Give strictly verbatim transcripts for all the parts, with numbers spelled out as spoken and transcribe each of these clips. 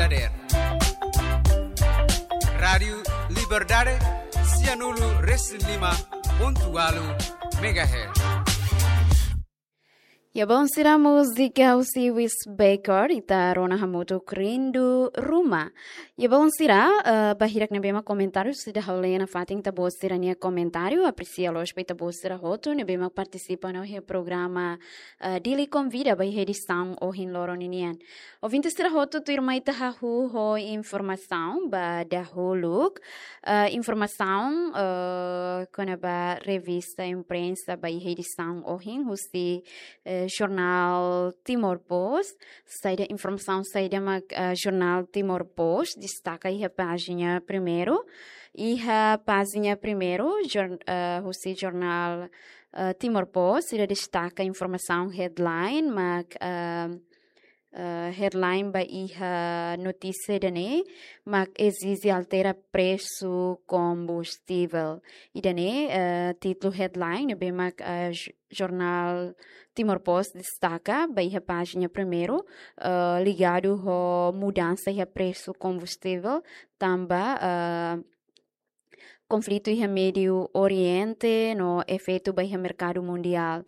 Dader. Rádiu Liberdade, sianulu resin lima pontu ualu megahertz. Ya, balun sira, múzika husi Wes Baker, ita rona hamutuk Rindu Ruma. Ya, balun sira, eh, ba hirak ne'ebé mak komentáriu sira ha'u lee nafatin ita-boot sira-nia komentáriu, apresia loos ba ita-boot sira hotu ne'ebé mak partisipa ona iha programa, eh, Dili Konvida ba iha edisaun ohin loron ninian. Ouvinte sira hotu, tuirmai ita hahú ho informasaun ba dahuluk. Eh, informasaun, eh, kona-ba revista imprensa ba iha edisaun ohin husi, eh, jornál Timor Post. Saida informasaun saida mak, eh, jornál Timor Post destaka iha pájina primeiru. Iha pájina primeiru, jor-, eh, husi jornál, eh, Timor Post, sira destaka informasaun headline mak, eh, eh, headline ba iha notísia ida-ne'e mak ezije altera presu kombustivel. Ida-ne'e, eh, títulu headline ne'ebé mak, eh, j-, jornál Timor Post destaka ba iha pájina primeiru, eh, ligadu ho mudansa iha presu kombustivel, tanba, eh, konflitu iha Médiu Oriente no efeitu ba iha merkadu mundiál.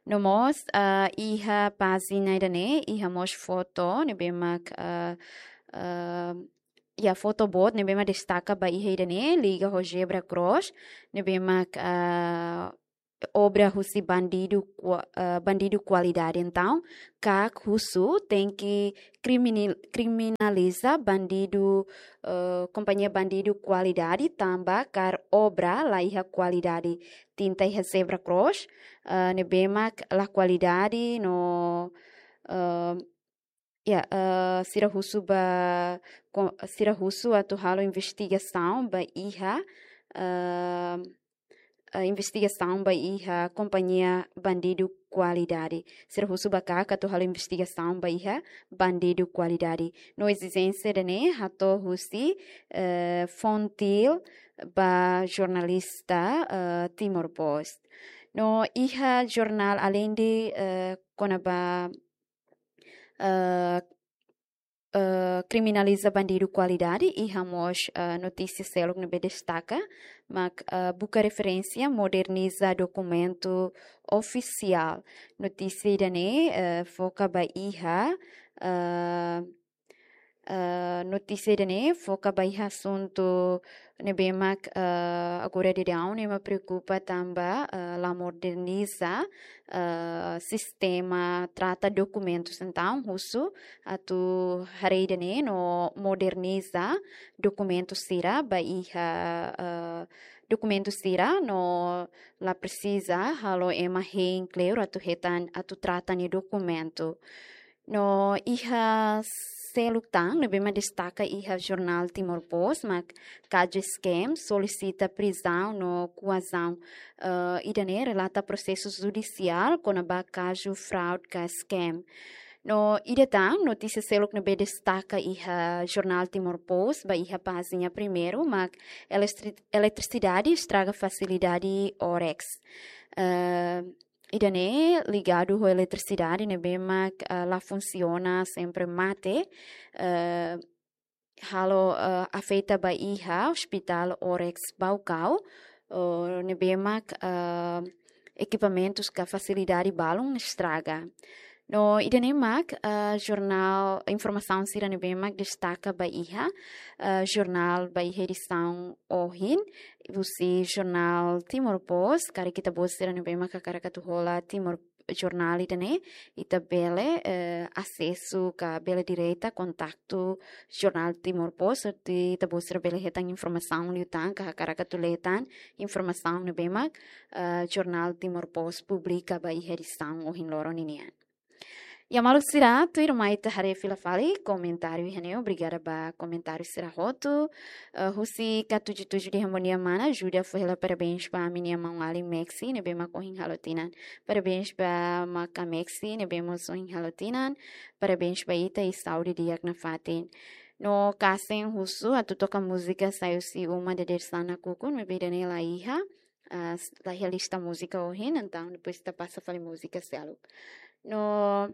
No mós, ah, iha pájina ida-ne'e, iha mós foto ne'ebé mak, ah, ah, ya, foto boot ne'ebé mak destaka ba iha ida-ne'e, liga ho zebra cross, ne'ebé mak, ah, obra husi bandidu kua-, eh, bandidu kualidade. Entaun, KAK husu tenke krimini-, kriminaliza bandidu, eh, kompañia bandidu kualidade tanba kaer obra la iha kualidade. Tinta iha zebra cross, eh, ne'ebé mak la kualidade no, eh, ya, eh, sira husu ba, ko-, sira husu atu halo investigasaun ba iha, eh, eh, investigasaun ba iha kompañia bandidu kualidade. Sira husu ba KAK atu halo investigasaun ba iha bandidu kualidade. No ezijénsia ida-ne'e hato'o husi, eh, Fontil ba jornalista, eh, Timor Post. No iha jornál aleinde, eh, kona-ba, eh, eh, kriminaliza bandidu kualidade, iha mós, eh, notísia seluk ne'ebé destaka mak, eh, buka referénsia moderniza dokumentu ofisiál. Notísia ida-ne'e, eh, foka ba iha, eh, eh, notísia ida-ne'e foka ba iha asuntu ne'ebé mak, eh, agora daudaun ne'e mak preokupa tanba, eh, la moderniza, eh, sistema trata dokumentus. Entaun, husu atu haree ida-ne'e no moderniza dokumentu sira ba iha, eh, dokumentu sira no la presiza halo ema hein kleur atu hetan, atu trata nia dokumentu. No iha seluk tan ne'ebé mak destaka iha jornál Timor Post mak Kaje Scam solisita prizaun no kuazaun. Eh, ida-ne'e relata prosesu judisiál kona-ba kazu fraude ka scam. No ida tan notísia seluk ne'ebé destaka iha jornál Timor Post ba iha pájina primeiru mak elestri-, eletrisidade estraga fasilidade Orex. Eh, ida-ne'e ligadu ho eletrisidade ne'ebé mak, eh, la funsiona, sempre mate, eh, halo, eh, afeta ba iha Hospital Orex Baucau, eh, ne'ebé mak, eh, ekipamentus ka fasilidade balun estraga. No ida-ne'e mak, eh, jornál, informasaun sira ne'ebé mak destaka ba iha, eh, jornál ba iha edisaun ohin, husi jornál Timor Post, karik ita-boot sira ne'ebé mak hakarak atu hola Timor jornál ida-ne'e, ita bele, eh, asesu ka bele direta kontaktu jornál Timor Post, atu ita-boot sira bele hetan informasaun liután ka hakarak atu lee tan informasaun ne'ebé mak, eh, jornál Timor Post publika ba iha edisaun ohin loron ninian. Ya maluk sira, tuirmai ita haree fila fali komentáriu iha ne'e, obrigada ba komentáriu sira hotu. Eh, husi Katuju-tuju dehan bom dia mana, ajuda fó hela parabéns ba ami-nia maun-alin Maxi, ne'ebé mak ohin halo tinan. Parabéns ba maka Maxi, ne'ebé mós ohin halo tinan. Parabéns ba ita i saúde di'ak nafatin. No Kasen husu atu toka múzika Sai husi Uma Dadeer-san Nakukun, maibé ida-ne'e la iha, ah, s-, la iha lista múzika ohin, entaun depois ita pasa fali múzika seluk. No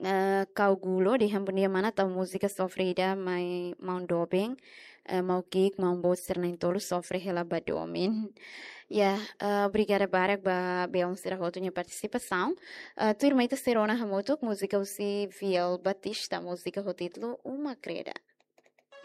eh, Kau Gulo dehan: "Bondia mana, tau múzika sofre ida mai maun doben, eh, maun ki'ik, maun boot sira na'in-tolu sofre hela ba domin." Ya, eh, obrigada barak ba belun sira hotu nia partisipasaun. Eh, tuirmai ita sei rona hamutuk múzika husi Viel Batista, múzika ho títulu Uma Kreda.